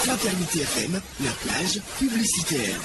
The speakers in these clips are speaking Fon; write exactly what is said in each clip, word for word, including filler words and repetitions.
Fraternité F M, la plage publicitaire.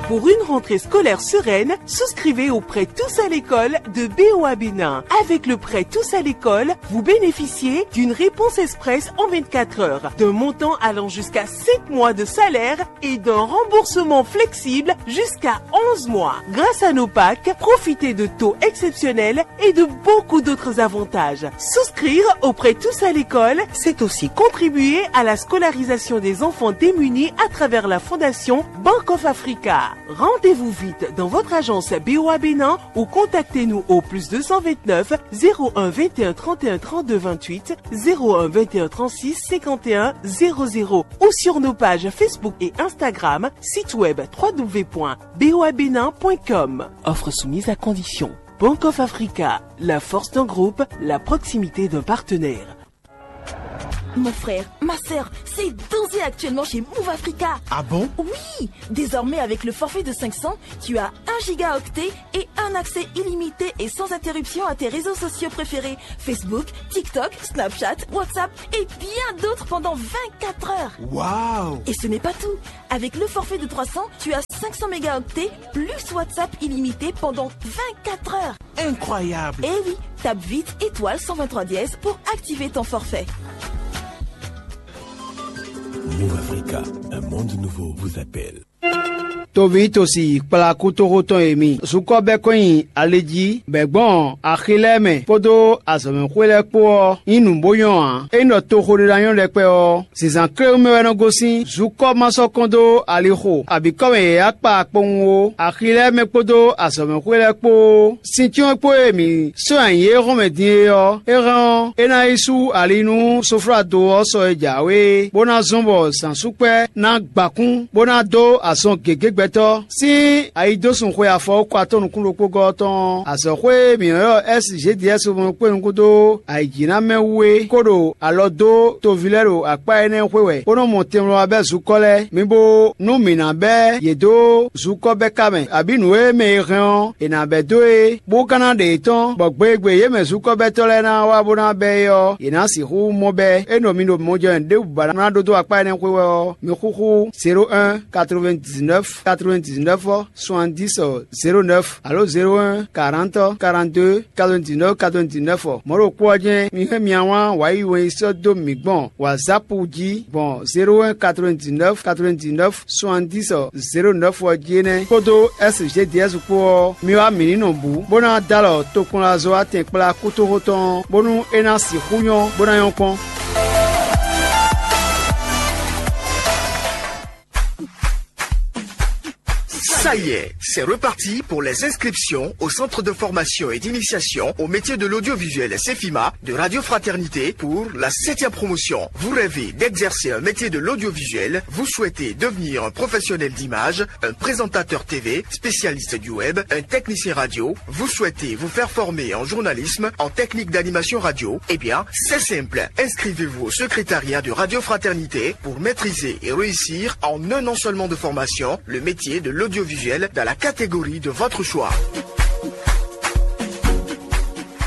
Pour une rentrée scolaire sereine, souscrivez au prêt Tous à l'école de B O A Bénin. Avec le prêt Tous à l'école, vous bénéficiez d'une réponse express en vingt-quatre heures, d'un montant allant jusqu'à cinq mois de salaire et d'un remboursement flexible jusqu'à onze mois. Grâce à nos packs, profitez de taux exceptionnels et de beaucoup d'autres avantages. Souscrire au prêt Tous à l'école, c'est aussi contribuer à la scolarisation des enfants démunis à travers la fondation Bank of Africa. Rendez-vous vite dans votre agence B O A Bénin ou contactez-nous au plus deux cent vingt-neuf, zéro un, vingt et un, trente et un, trente-deux, vingt-huit, zéro un, vingt et un, trente-six, cinquante et un, zéro zéro ou sur nos pages Facebook et Instagram, site web trois W point B O A Bénin point com. Offre soumise à condition. Bank of Africa, la force d'un groupe, la proximité d'un partenaire. Mon frère, ma sœur, c'est danger actuellement chez Move Africa. Ah bon ? Oui, désormais avec le forfait de cinq cents, tu as un gigaoctet et un accès illimité et sans interruption à tes réseaux sociaux préférés, Facebook, TikTok, Snapchat, WhatsApp et bien d'autres pendant vingt-quatre heures. Waouh ! Et ce n'est pas tout. Avec le forfait de trois cents, tu as cinq cents mégaoctets plus WhatsApp illimité pendant vingt-quatre heures. Incroyable ! Eh oui, tape vite étoile cent vingt-trois dièse pour activer ton forfait. Move Africa, un monde nouveau vous appelle. Toví tosi kplá kútóxó tɔn e mi zukɔ bɛ́ kɔn nyi ali jí bɛ̌ gbɔn axi lɛ́ɛ mɛ kpódó azɔ̌mɛxwé lɛ́ɛ kpó ɔ́, nyí nǔ bó nyɔ́ ǎ. Ényí ɖɔ toxo ɖé ná nyɔ́ ɖɛkpɛ ɔ́, zǐnzán kléwún mɛ wɛ nɔ gosín. Zukɔ ma sɔ́ kɔn dó alixo abǐ kɔ́ mɛ yě yá kpa kpowun ó. Axi lɛ́ɛ mɛ kpódó azɔ̌mɛxwé lɛ́ɛ kpó ó. Sin cyɔ́n kpó e mǐ sɔ́ nyi ayǐ e hɔn mɛ din é ɔ́, é hɛn ɔ́, é ná yi sú ali nú soflado ɔ́ sɔ e jǎwe é, bó ná zɔ́n bɔ zǎnsúkpɛ́ ná gbǎ kún, bó ná dó azɔn gěgé gbɛtɔ́. Sín ayidósun xwe afɔwúkɔ atɔ́ nukún ɖokpó gɔ́ ɔ́ tɔn ɔ́, azɔ̌xwé e mǐ nɔ ylɔ́ S G D S mɔ kpé nukún dó ayǐjínamɛ wú é kó ɖo alɔ dó toví lɛ́ɛ ɖo akpá énɛ́ xwé wɛ, bó nɔ́ mɔ tɛnmlɔ́ wá bɛ́ zukɔ́ lɛ́ɛ. Mi bo nú mǐ ná bɛ́ yě dó zukɔ́ bɛ́ ka mɛ, abǐ nǔ e mɛ e hɛn ɔ́, è nǎ bɛ́ dó é, bó ka ná ɖe yětɔn, bɔ gbe e gbe yě mɛ zukɔ́bɛ́tɔ́ lɛ́ɛ ná wá bó ná bɛ́ é ɔ́, yě ná sixú mɔ bɛ́. É nɔ mi ɖo mɔjɛ́nú ɖěbǔ ba ná ɖó dó akpá énɛ́ xwé wɛ ɔ́, mi xúxú zéro un, quatre-vingt-dix-neuf, quatre-vingt-dix-neuf ɔ́, soixante-dix, zéro neuf alo zéro un, quarante, quarante-deux, quatre-vingt-dix-neuf, quatre-vingt-dix-neuf ɔ́. Mɔ̌ ɖokpó ɔ́ jɛ́n mi hɛn mia wlán wǎ yi wɛn yi sɔ́ dó mǐ gbɔn WhatsApp jí gbɔn zéro un, quatre-vingt-dix-neuf, quatre-vingt-dix-neuf, soixante-dix, zéro neuf ɔ́ jí é nɛ́, kpódó S G D S kpó ɔ́, mi wá mǐ ní nɔ bǔ, bó ná dó alɔ tokpɔnlazɔ́watɛn kplá kútóxó tɔn ɔ́, bónú é ná sixú nyɔ́, bó ná nyɔ́ kpɔ́n. Ça y est, c'est reparti pour les inscriptions au centre de formation et d'initiation au métier de l'audiovisuel Cefima de Radio Fraternité pour la septième promotion. Vous rêvez d'exercer un métier de l'audiovisuel, vous souhaitez devenir un professionnel d'image, un présentateur T V, spécialiste du web, un technicien radio, vous souhaitez vous faire former en journalisme, en technique d'animation radio, eh bien, c'est simple. Inscrivez-vous au secrétariat de Radio Fraternité pour maîtriser et réussir en un an seulement de formation le métier de l'audiovisuel dans la catégorie de votre choix.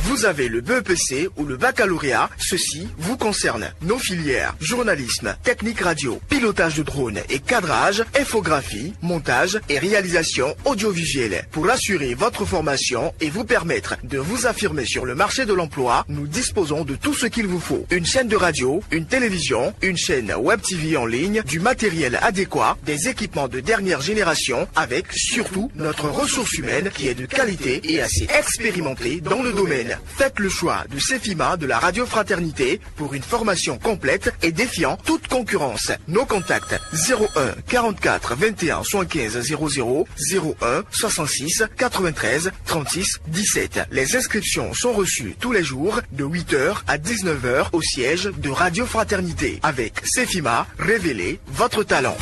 Vous avez le B E P C ou le baccalauréat, ceci vous concerne. Nos filières, journalisme, technique radio, pilotage de drone et cadrage, infographie, montage et réalisation audiovisuelle. Pour assurer votre formation et vous permettre de vous affirmer sur le marché de l'emploi, nous disposons de tout ce qu'il vous faut. Une chaîne de radio, une télévision, une chaîne web T V en ligne, du matériel adéquat, des équipements de dernière génération, avec surtout notre ressource humaine qui est de qualité et assez expérimentée dans le domaine. Faites le choix de Cefima de la Radio Fraternité pour une formation complète et défiant toute concurrence. Nos contacts, zéro un, quarante-quatre, vingt et un, soixante-quinze, zéro zéro, zéro un, soixante-six, quatre-vingt-treize, trente-six, dix-sept. Les inscriptions sont reçues tous les jours de huit heures à dix-neuf heures au siège de Radio Fraternité. Avec Cefima, révélez votre talent.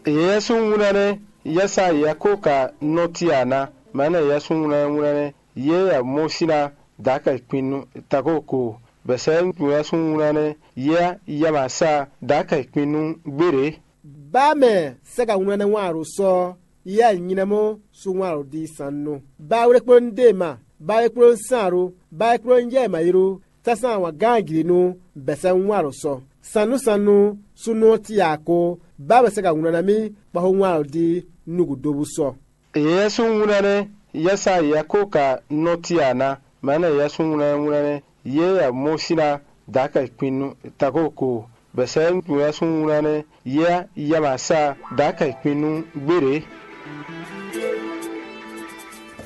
Yɛsúnwúnánɛ́, yɛsa yɛkóka nɔ́ cí a ná? Mɛ̌ nɛ́ yɛsúnwúnánɛ́ wúnánɛ́, yě ya mɔ sín ná dǎkɛ kpin nú takóko, bɛ̌ sɛ́ yɛsúnwúnánɛ́, yě ya ma sa dǎkɛ kpin nú gbéɖě. Bá mɛ sɛ́ ka wúnánɛ́ wán a ɖo sɔ́ ɔ́, Yɛ nylɛ́mɔ́ sú wán ɖo ɖi sannú. Ba wlékplɔ́nú ɖe ma, ba wlékplɔ́nú sán ɖó, ba wlékplɔ́nú jɛ ma yi ɖó, sásán wǎn gán jlǐ nú bɛ̌sɛ́ wán ɖo sɔ. Sannú sannú súnnu ɔ́ cí ǎ kó, ba bɛ̌sɛ́ ka wlán ná mì, bɔ xó wán ɖo ɖi nú gǔdo bú sɔ. Yɛsúnwlɛ́nɛ́ yɛsa yɛkóka nɔ́ cí ǎ ná, mɛ̌ nɛ yɛsúnwlɛ́nwlɛ́nɛ́ yě yɛ mɔ sín ná dǎkɛ kpin nú takóko, bɛ̌sɛ́ yɛsúnwlɛ́nɛ́ yɛ yɛ ma sa dǎkɛ kpin nú gbéɖě.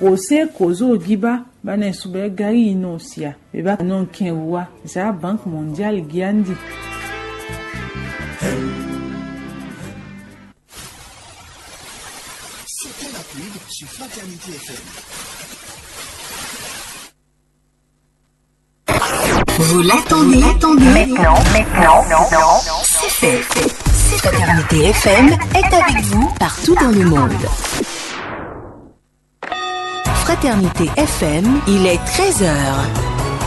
José Kozo Giba ba nɛ subɛ gari yi nɔ sia beba nɔ kɛn wa za Banque Mondiale giandi. C'était la pub sur Fraternité F M. Vous l'attendez, attendez. Maintenant, maintenant, c'est fait. Fraternité F M est avec vous partout dans le monde. Fraternité F M, il est treize heures.